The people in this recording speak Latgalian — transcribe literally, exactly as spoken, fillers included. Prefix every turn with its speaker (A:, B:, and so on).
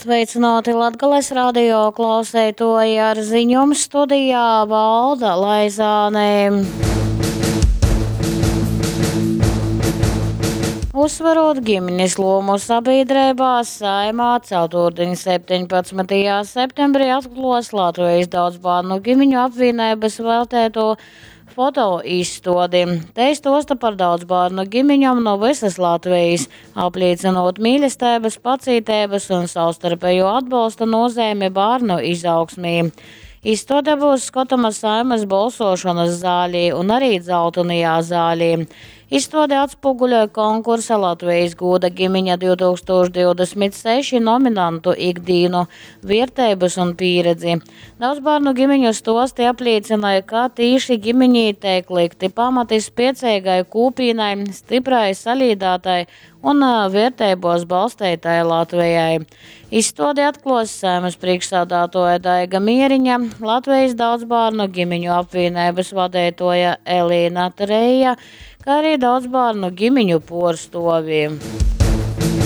A: Sveicināti Latgales radio klauseitoji ar ziņom studijā Valda Laizāne. Uzsverot ģimenes lomu sabiedrībā, Saeimā ceturtdien septiņpadsmitajā septembrī atklos Latvijas daudzbērnu ģimeņu apvienības veltēto fotoizstādi. Te stosta par daudzbērnu ģimeņām no visas Latvijas, apliecinot mīlestības, pacītības un savstarpējo atbalsta nozīmi bērnu izaugsmī. Izstāde būs skatama Saeimas balsošanas zālī un arī dzeltenajā zālī. Izstāde atspoguļoja konkursa Latvijas gūda ģimeņa divtūkstoš divdesmit seši nominantu ikdīnu, vērtības un pieredzi. Daudz bērnu ģimeņu stosti apliecināja, ka tīši ģimeņī tiek likti pamati spēcīgai kūpīnai, stiprai, salīdātai un, ā, vērtībos balstītai Latvijai. Izstādi atklos Saeimas priekšsādātoja Daiga Mieriņa, Latvijas daudzbērnu ģimeņu apvienības vadītoja Elīna Treija, kā arī daudzbērnu ģimeņu porstovi.